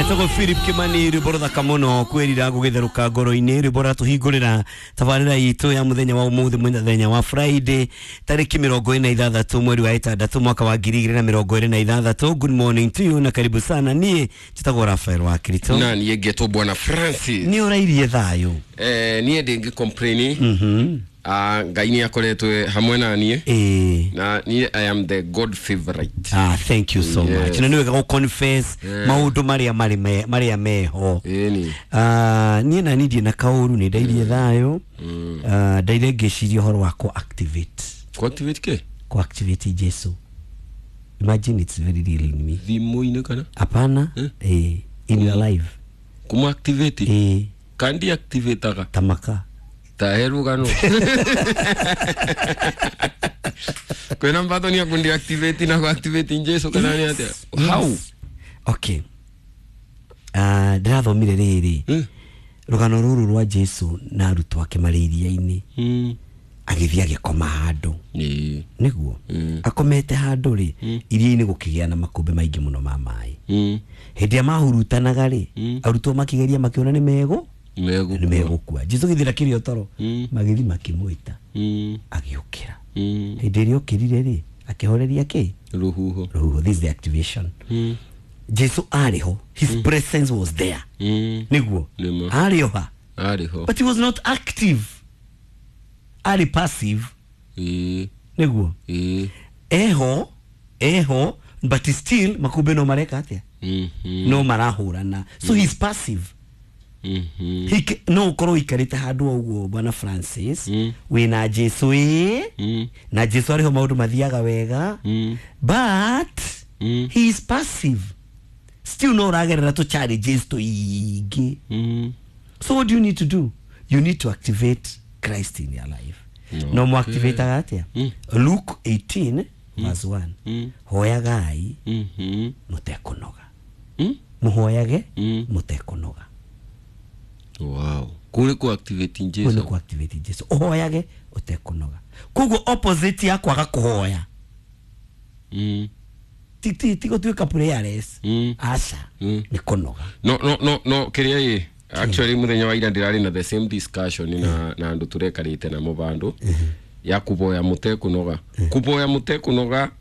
Etagwo Philip Kimani, rwĩmbo rũthaka mũno, kwĩrira gũgĩtherũka ngoro-inĩ, rwĩmbo ratũhingũrĩra tabarĩra itũ ya mũthenya wa ũmũthĩ, mũthenya wa Friday, tarĩki 26 mweri wa 6 mwaka wa 2026. Good morning to you na karibu sana. Niĩ njĩtagwo Rafael wa Kirito. Na niĩ ngetwo Bwana Francis. Nĩ ũrairie thayũ? Niĩ ndĩngĩ complain. Ah, Ngai nĩ akoretwo hamwe na niĩ. Na niĩ I am the God favorite. Ah, thank you so much. Na nĩ wega gũ confess maũndũ marĩa marĩ marĩa meho. Ĩni. Ah, niĩ na niĩ ndirĩ na kaũru, nĩ ndairie thayũ. Ah, ndaire ngĩciria ũhoro wa kũ activate. Ku activate kĩ? Kũ activate Jesu. Imagine, it's very real in me. Thimũ-inĩ kana? Hapana. In your life. Kũmũ activate? Eh. Kandi activataga? Tamaka. Ta he rũgano kwĩna mbatho nĩ akundi activate na ku activate Jesu kana nĩ atĩa? How? Yes. Okay. Ah, ndĩrathomire rĩrĩ rũgano rũrũ rwa Jesu na arutwo ake marĩ iria-inĩ. Agĩthiĩ agĩkoma handũ. Nĩguo akomete handũ rĩ iria-inĩ, gũkĩgĩa na makũmbĩ maingĩ mũno ma maĩ. Hĩndĩ ĩrĩa mahurutanaga rĩ, arutwo makĩgeria, makĩona nĩ megũ Megũkua. nĩ megũkua. Jesu gĩthira kĩrĩ o toro. Magĩthiĩ makĩmwĩta. Agĩũkĩra. Hĩndĩ ĩrĩa okĩrire rĩ, akĩhoreria kĩ? Rũhuho. Rũhuho. This is the activation. Jesu arĩ ho, his presence was there. Nĩguo. Nĩma. Arĩ o ha. Arĩ ho. But he was not active, arĩ passive. Nĩguo. Eho, eho, but still makũmbĩ no mareka atĩa? No marahũrana, so he's passive. No ũkorwo ũikarĩte handũ o ũguo, Bwana Francis, wĩna Jesu ĩ, na Jesu arĩho, maũndũ mathiaga wega, but he is passive still, no ũragerera tũ challenges tũingĩ. So what do you need to do? You need to activate Christ in your life. No mu activate atĩa? Luke 18 verse 1. Hoyagai mũtekũnoga. Mũhoyage mũtekũnoga. Wow, kũrĩ ku activate Kũu nĩ Jesu. ku activate Jesu, ũhoyage ũtekũnoga. Koguo opposite ya kwaga kũhoya ti gũtuĩka prayerless. Aca. Nĩ kũnoga. No, kĩrĩa ĩ, actually mũthenya wa ira ndĩrarĩ na the same discussion na andũ tũrekarĩte namo vandũ ya kuboya mũtekũnoga, kuboya mũtekũnoga.